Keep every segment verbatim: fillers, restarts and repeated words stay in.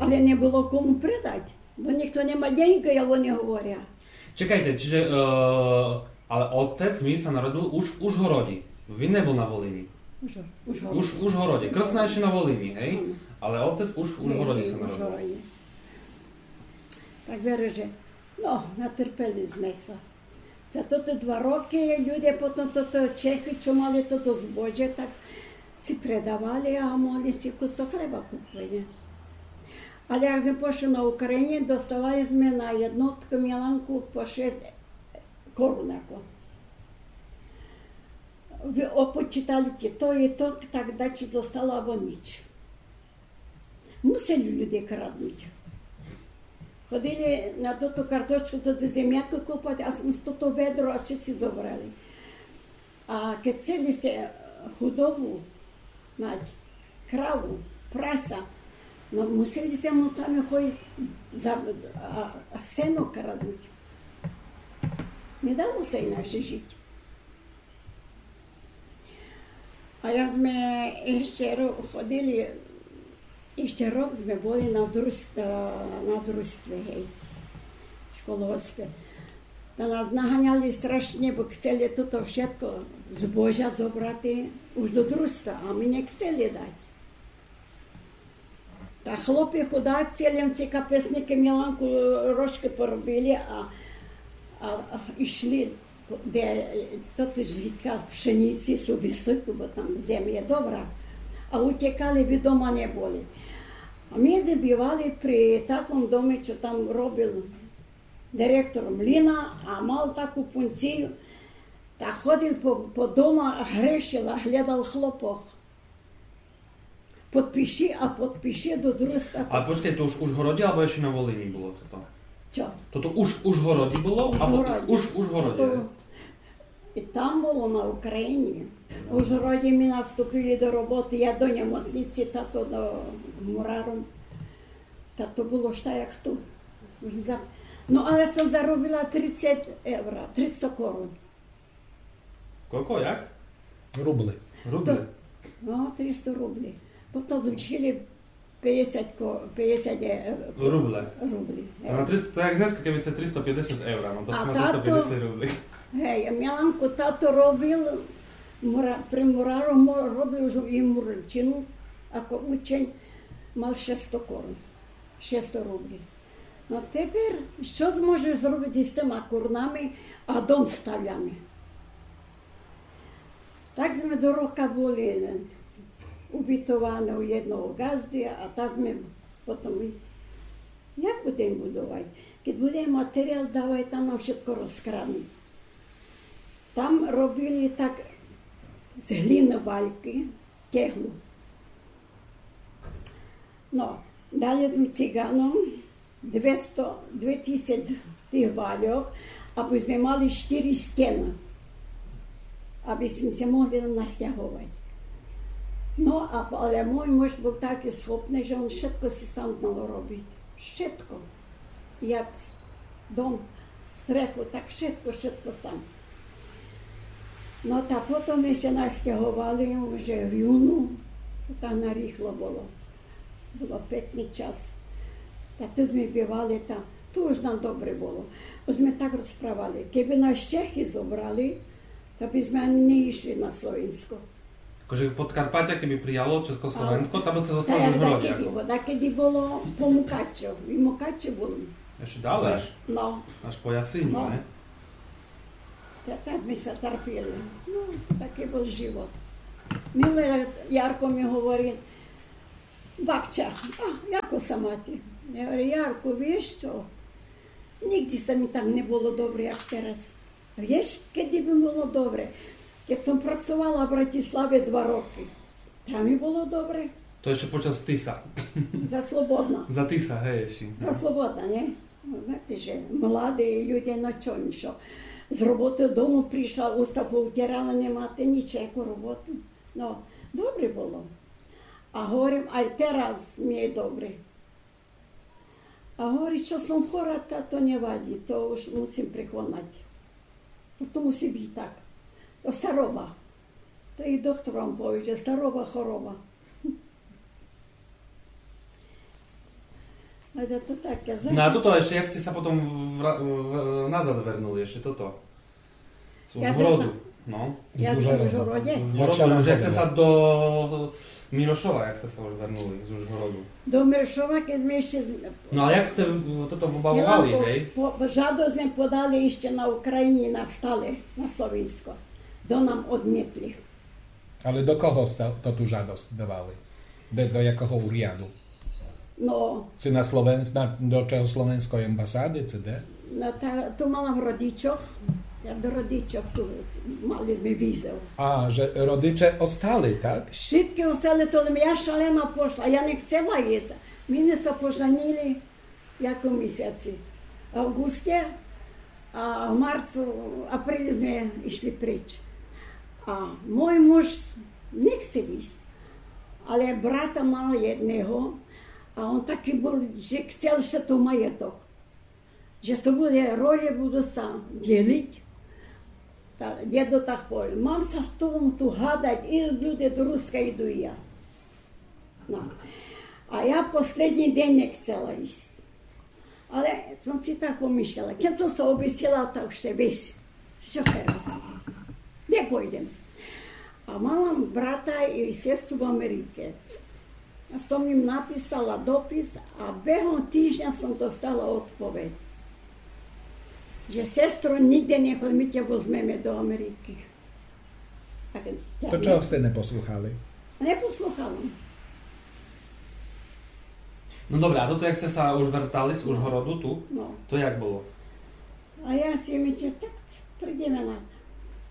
Але не было кому предати, бо нїхто не ма деньґы, як они говорять. Чекайте, чиже, е, але отец мій ся народил уж в Ужгороді. Він не быв на Волині. Ужгород. Уж в Ужгороді. Крсна іщи на Волині, гей? М. Але отец уж в Ужгороді ся народил. Ужгороді. Так верю, же, но, натерпели зме ся. За тоты два рокы люде потом тото Чехы, што мали тото збожє, так си предавали, а могли си кусок хлеба купити. Але як зме пошли на Україні, доставали зме на єднотку Міланку по шест корунакох. Вы опочитали то і то, так дачи зостало або ніч. Мусили люде краднути. Ходили на тоту картошку, тоту земяку копати, а з тото ведро, а всі зобрали. А кед хцели сте, е, худобу мати, краву, праса, но мусили сте ночами ходити за, а, а сено краднути. Не дало ся інакше жити. А як зме іщи ро-, ходили, іщи рок зме были на друз-, е, на дружтві, гей, в колгоспі. Та нас наганяли страшні, бо хцели тото вшытко збожя зобрати уж до дружтва, а мы не хцели дати. Та хлопи худаці, лем ці капесникы Міланку, е, рожкы поробили, а, а, а ішли, де, е, то ты звідка пшениці су высокі, бо там земля добра, а утекали, бы дома не были. А мы забывали при такому домі, што там робив директор млина, а мав таку функцію, та ходив по, по домах, грішив, а глядав хлопох. Подпиши, а подпиши до дружтва. А почкай, то уж в Ужгороді, або іщи на Волині было тото? Што? Тото уж в Ужгороді было? Або Ужгороді. Уж в Ужгороді, то, е? І там было, на Україні. В Ужгороді мы наступили до роботы, я до німочниці, тато до мураром. Та то было што як ту. Уж за-, но, але сом заробила трицет евро, трицет корун. Кілько, як? Рублі. Рублі? То, но, триста рублі. Потом звышили пятдесят ко-, пятдесят, е, рублі. Рублі. Та на триста, то як днеска, кебы сте триста пятдесят евро, но то а сте на тато, триста пятдесят рублі. Гей, Міланку тато робив, мура-, при мурару мо-, робив уже і мурарщину, ако учень, мав шестсто корун. Шестсто рублі. Но тепер, што зможеш зробити з тыма корунами, а дом ставляме? Так зме до рока были убитовані у єдного ґазды, а так зме потом, як будеме будовати? Кед буде матеріал давати, та нам вшытко розкраднуть. Там робили так з глины валькы, теглу. Но, дали сме циганом двісто, дві тисячі тых вальок, абы сме мали штыри стены, абы сме ся могли настяговати. Но, а, але мой муж быв такый схопный, же он вшытко си сам знав робити. Вшытко. Як с-, дом, стреху, так вшытко, вшытко сам. Но та потом іщи настяговали уже в юну, то там нарыхло было. Было пекный час. Та ту зме бывали там, то уж нам добре было. Бо зме так розправали. Кебы нас Чехы зобрали, та бы зме ани не ішли на Словенско. Также Подкарпатя, кебы прияло Чеськословенско, та бы сте зостали в Ужгороді, дакеды, яко? Бо дакеды было по Мукачу. І Мукачу было. Іщи дале? Но. Аж по Ясиню, но, не? Та, так мы ся терпіли. Но, такый быв живот. Милый Ярко мі говорить: «Бабча, а, яко ся мати?» Я говорю: «Ярко, віш што? Нигде ся мі так не было добре, як тераз. Віш, кеды мі было добре? Кед сом працовала в Братиславі два рокы, там мі было добре». То іщи почас Тиса. За Слободна. За Тиса, гей, іщи. За Слободна, не? Знаєте же, младі люде, но што, нічо. З роботы дому пришла, уста повтирала, не мати нічого, яку роботу. Но, добре было. А говорим, ай тераз мі є добре. А говорить, што сом хора, та то не вадит, то уж мусим преконати. То, то мусит быти так. То староба. То і доктор вам повіє, же староба, хороба. Ale to takie. No a toto ešte, jak ste sa potom vra-, v-, nazad вернули, ešte toto? З Ужгороду. No. Як в Ужгороді? З Ужгороду, як сте ся до Мірошова, як сте ся уж вернули з Ужгороду? До Мірошова, як сме іщі з- No a jak ste v-, toto vybavovali, hej? По, по, žadosc сме подали іщі на Україні, на стале, на Словенсько. До нам одмітли. Але до кого сте тоту жадосц давали? До, до якого уряду? Но. Ци на Словен-, на, до чехословенської амбасады, ци де? Но, та, ту мала в родичох. Я до родичох ту мали сме візов. А, же родиче остали, так? Вшыткы остали, то лем я шалена пошла, я не хцела ісц. Ми сме ся поженили. Як у місяци авґусте, а в марцу, апрелю сме ишли пріч. А мой муж не хцел ісц, але брата мал єдного, а он такый был, же хцел ше то маєток, же ше буде, ролі буду ся дєліц. Та дєдо так повіл: мам ся з тобом ту гадац, і люди до Руска, іду і я. Но. А я послідній ден не хцела ісц. Але сом си так помишляла, кед сом ся обісела, та уж ше весь, што тераз? Де пойдзем? А мала брата і сестру в Америці. А сом їм написала допис, а бегом тижня сом достала одповедь, же: сестро, нїґдзе не ходзим, ми тя возмеме до Америці. То чого сте не послухали? Не послухала. Но добре, а тото, як сте ся уж вертали з Ужгороду ту, то як было? А я си мислим, так прийдеме на...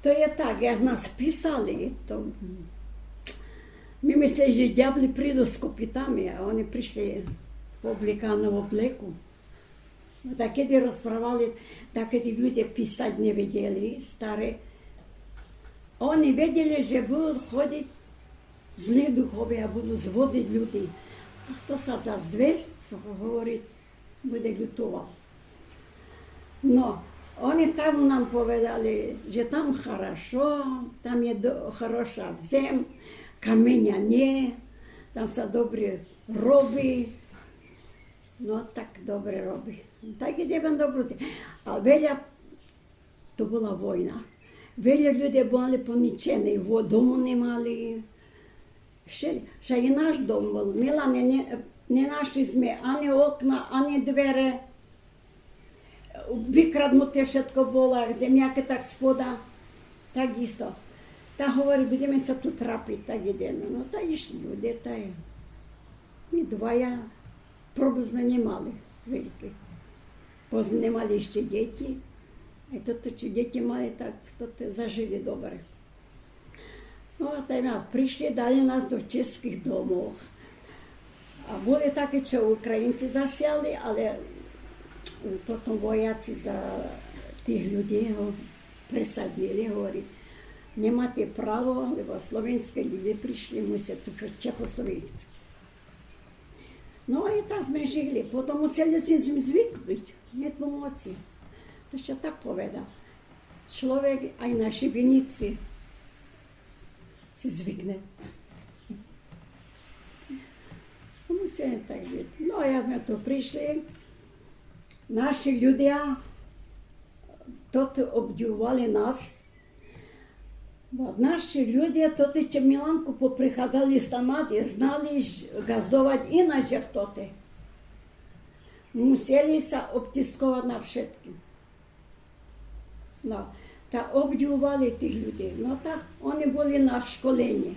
То є так, як нас писали, то ми мислели, же дявли приду з копитами, а они пришли по обликаном облеку. Но, та кеди розправяли, та кеди люде писац не видели, стари, они видели, же буду ходиц зли духове, а буду зводиц люди. А хто ся даст звесц, говориц, буде лютовал. Но, они там нам поведали, же там хорошо, там є до-, хороша зем, каменя нє, там ся добре роби. Но, так добре роби. Так і тебе добре. А веля, то была война. Веля люде были поничени, во-, дому не мали. Ще, ще і наш дом был. Мила не, не, не нашли сме ани окна, ани двере. Викраднуте вшытко было, як земякы, так спода, так істо. Та говори, будеме ся ту трапиц, так ідеме. Но, та ішли люде, та й ми двоє, проблем сме не мали великый. Бо сме не мали іщи дїти. А то, то чи дїти мали, так то, то зажили добре. Но, а та й ма-, пришли, дали нас до чеськых домох. А были такы, што Українци засяли, але потом вояци за тых людей го пресадили, говори, не мате право, лебо словеньскы люде пришли, мусят ту чехословеньци. Но і так сме жили. Потом мусели сме звикнуц, нє помоци. То што так поведал. Чловек ай на шибеници си звикне. Мусиме так жиц. Но, а як сме ту пришли, наши людя тоти обдивовали нас, бо наши людя тоти, чим Міланку поприходзали сама, знали ж ґаздовац іначе, як тоти. Мусели ся обтисковац на вшыткым. Но, та обдивовали тых людей. Но, та они были на школенї.